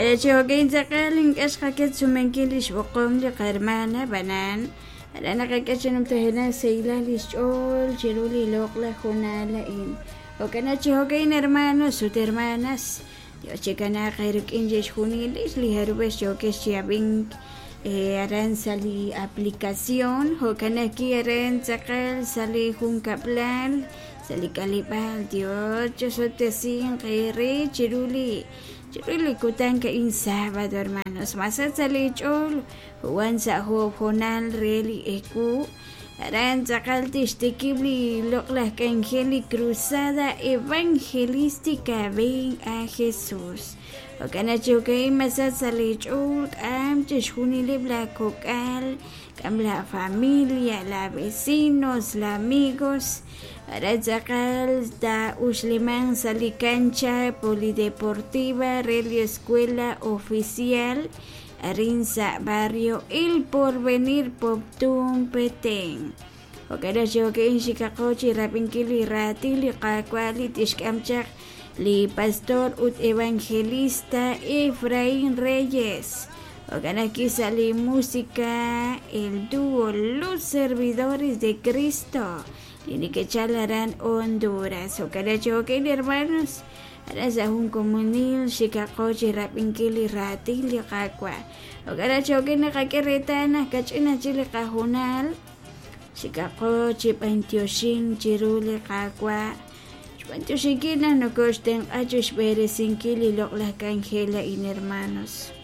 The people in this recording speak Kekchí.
Jo'kan chi jo'kan tz'aqal ink'a' xqaket sumenkil li xb'oqom li qahermana ab'anan aran naqak'e chi numtajenaq sahilal li xch'ool chiru li loq'laj hoonal a'in. Jo'kan chi jo'kan hermanos ut hermanas Dios chikanaaq eerik'in chixjunilex li jarub'ex yookex chi ab'ink aran sa' li aplicación jo'kan ajwi' aran tz'aqal sa' li junkab'lal sa' li k'aleb'aal Dios chosob'tesinq eere chiru li chiru li kutan a'in sábado hermanos masach sa' li ch'ool wan sa' joob' hoonal re li ewu aran tz'aqal tixtikib' li loq'laj k'anjel li cruzada evangelística Ven a Jesús jo'kan naq chi jo'ka'in masach sa' li ch'ool k'am chixjunileb' laa kok'al k'am la familia la vecinos la amigos aran tz'aqal taa'uxlimanq sa' li cancha polideportiva re li escuela oficial arin sa' barrio El Porvenir Poptún Petén. Jo'kan naq chi jo'ka'in xikaqo chi rab'inkil li raatin li Qaawa' li tixk'am chaq li pastor ut evangelista Efraín Reyes. Jo'kan ajwi' sa' li música el dúo Los Servidores de Cristo li neke'chal aran Honduras. Jo'kan naq chi jo'ka'in hermanos aran sa' jun komonil xikaqo chi rab'inkil li raatin li Qaawa'. Jo'kan naq chi jo'ka'in naqak'e reetal naq kach'in aj chik li qahoonal xikaqo chi b'antioxink chiru li Qaawa' xb'antioxinkil naq nokoxtenq'a chixb'eresinkil li loq'laj k'anjel a'in hermanos.